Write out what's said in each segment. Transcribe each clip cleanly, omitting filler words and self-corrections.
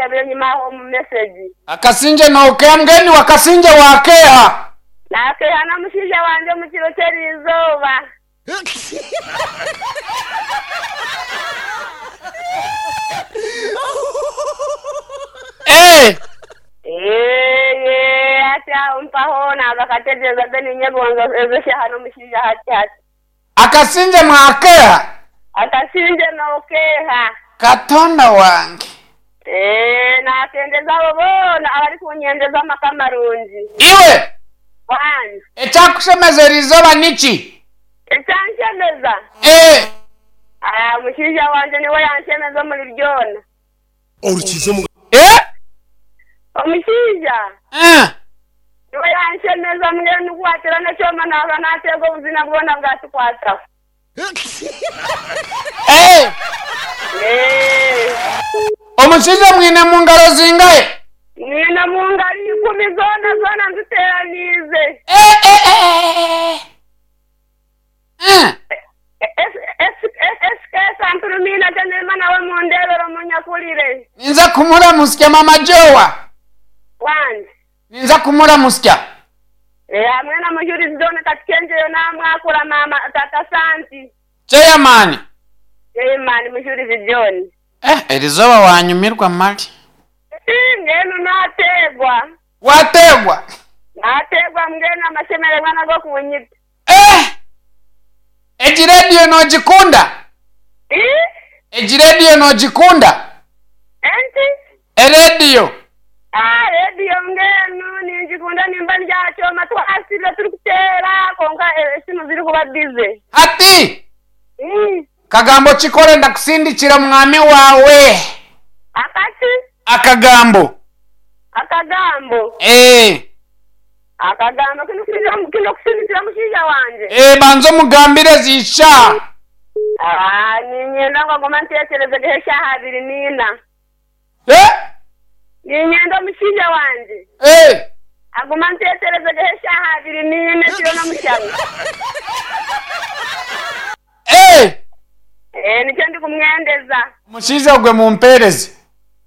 naashabire enyima aho omu mesegi. Akasingye nookeeha mbwenu iwe akasingye waakeeha? Naakeeha n'omushaija wangye omu kiro ky'eriizooba. Ee! Eeye, hati aho mpaho naaza kategyereza then ninyegonza ezo shaaha n'omushaija hati hati. Akasingye mwakeeha? Akasingye nookeeha? Katonda wange! Ee, naakendeza abo boona abarikunyendeza amaka marungi. Iwe! Wangi. Ekyakushemeza eri izooba niki? Ekyanshemeza? Ee. Ah, omushaija wangye niwe yanshemeza omuri byona. Orukiize omu. Ee? Omushaija Ee. niwe yanshemeza mbwenu ku ateera n'ekyoma naaba naateega obuzina bwona bwatukwataho. Ee. Ee. Omushaija mwine mu ngaro zingahe? Nyine omu ngaro ikumi zoona zoona nziteeraniize. Ee, ee, ee, ee. SK Nturumiina Janema nawe mundeebere omunyakurire. Ninza kumuramutsya mama Joa. Wangi. Ninza kumuramutsya. Eh, hamwe na Mujurizi John Katukengyeyo namwakura mama tata Santi. Chairman. Chairman Mujurizi John. Eh, erizooba wanyumirwa mali. Mbwenu nateegwa. Wateegwa? Nateegwa mbwenu amashemererwa nago kunyita. Eh! Egi rediyo noogikunda? Ii? Egi rediyo noogikunda? Enki? Erediyo. Ah, rediyo mbwenu ningikunda nimba ndi aha kyoma twasibire turikuteera kwonka esimu zirikuba bize. Hati, Ii? kagambo ki k'orenda kusindikira omwami waawe? Akaki? Akagambo. Akagambo? Ee. Akagamba, Kinokusindikira omushaija wangye? Ee, banza omugambire ezi ishaaha. Ah, niinyenda ngu agume anteekyereze geho eshaaha abiri n'ina. Eh? Niinyenda omushaija wangye Eh. agume anteekyereze geho eshaaha abiri n'ina ekiro n'omushana. Eh. Ee, nikyo ndikumwendeza. Omushaija ogwe mumpeereze.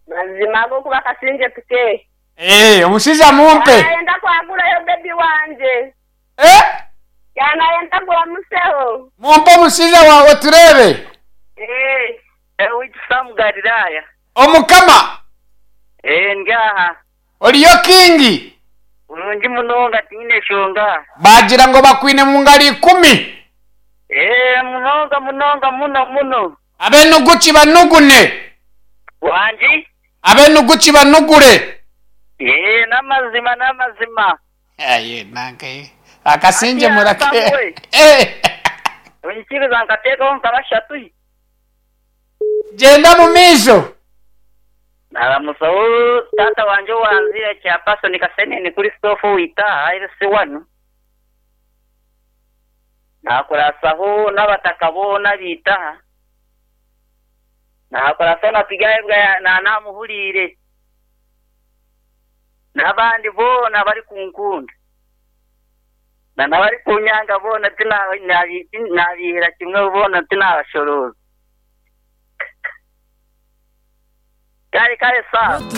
Mazima ahabw'okuba akasingye tukeehe. Eeh omushaija mumpe. Yanayenda kwagurayo baby wangye. Eh. Yanayenda guramuseho. Mumpe omushaija wawe tureebe. Eh. Oweitu Sam Galilaya. Omukama. Eeh ndi aha. Oriyo King? Burungi munonga tinyine shonga. Bagira ngu bakwine mungaro ikumi. Eeh munonga munonga muno muno. Abenugu kibanugune. Wangi? Ab'enugu kibanugure. Yee, n'amazima, n'amazima. Aye, nanka ye. Akasingye Hati murake. Samuel. Eh. Onyikiriza nkateekaho nka bashatu. Gyenda mu maisho. Naramusaho taata wangye owanziire Chairperson Kasenene Christopher owaitu aha LC1. Naakurasaho n'abataka boona abaitu aha. Naakora na Turyahebwa namuhuriire, n'abandi boona abarikunkunda, na n'abarikunyanga boona tinaabihira kimwe boona tinaabashorooza. Kare kare sawa.